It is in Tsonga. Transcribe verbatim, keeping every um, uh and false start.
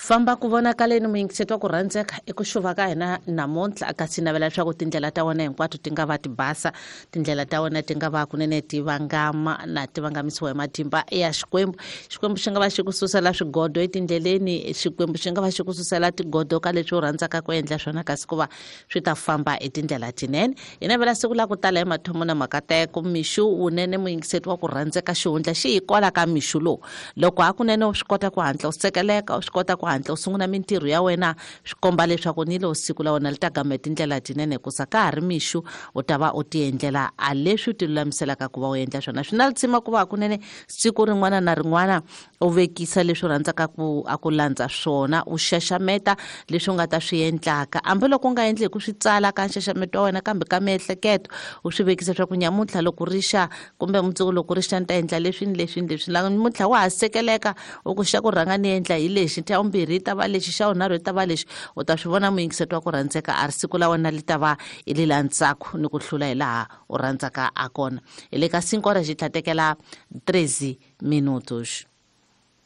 Famba ku vonakaleni muyingiseti wa ku rhandzeka i ku xuva ka hina namuntlha kasi navela leswaku tindlela ta wena hinkwato ti nga va ti basa, tindlela ta wena ti nga va kunene ti vangama na ti vangamisiwa hi matimba ya Xikwembu. Xikwembu xi nga va xi ku susela swigodo etindleleni, Xikwembu xi nga va xi ku susela tigodo ka leswi u rhandzaka ku endla swona kasi ku va swi ta famba hi tindlela tinene. Hi navela siku la ku tala hi mathomo na makateko mixu wunene muyingiseti wa ku rhandzeka xihundla xi hi kwala ka mixu lowu. Loko hakunene u swi kota ku hatla u sekeleka, u swi kota ku hatla u sungula mintirho ya wena, swi komba leswaku ni lo siku la wena li ta gama hi tindlela tinene hikusa ka ha ri mixu u ta va u ti endlela a leswi u ti lulamiselaka ku va u endla swona. Swi na litsima ku va hakunene siku rin'wana na rin'wana u vekisa leswi u rhandzaka ku a ku landza swona, u xaxameta leswi u nga ta swi endlaka hambiloko u nga endli hi ku swi tsala ka nxaxameto wa wena kambe ka miehleketo u swi vekisa leswaku nyamuntlha loko ri xa kumbe mundzuku loko ri xa ni ta endla leswi ni leswi ni leswi. Namuntlha wa ha sekeleka u ku xa ku rhanga ni endla hi lexi, xa vumbirhi yi ta va lexi, xa vunharhu yi ta va lexi, u ta swi vona muyingiseti wa ku rhandzeka a ri siku la wena li ta va i li la ntsako ni ku hlula hi laha u rhandzaka a kona. Hi le ka cinco horas xi tlhatekela treze minutos.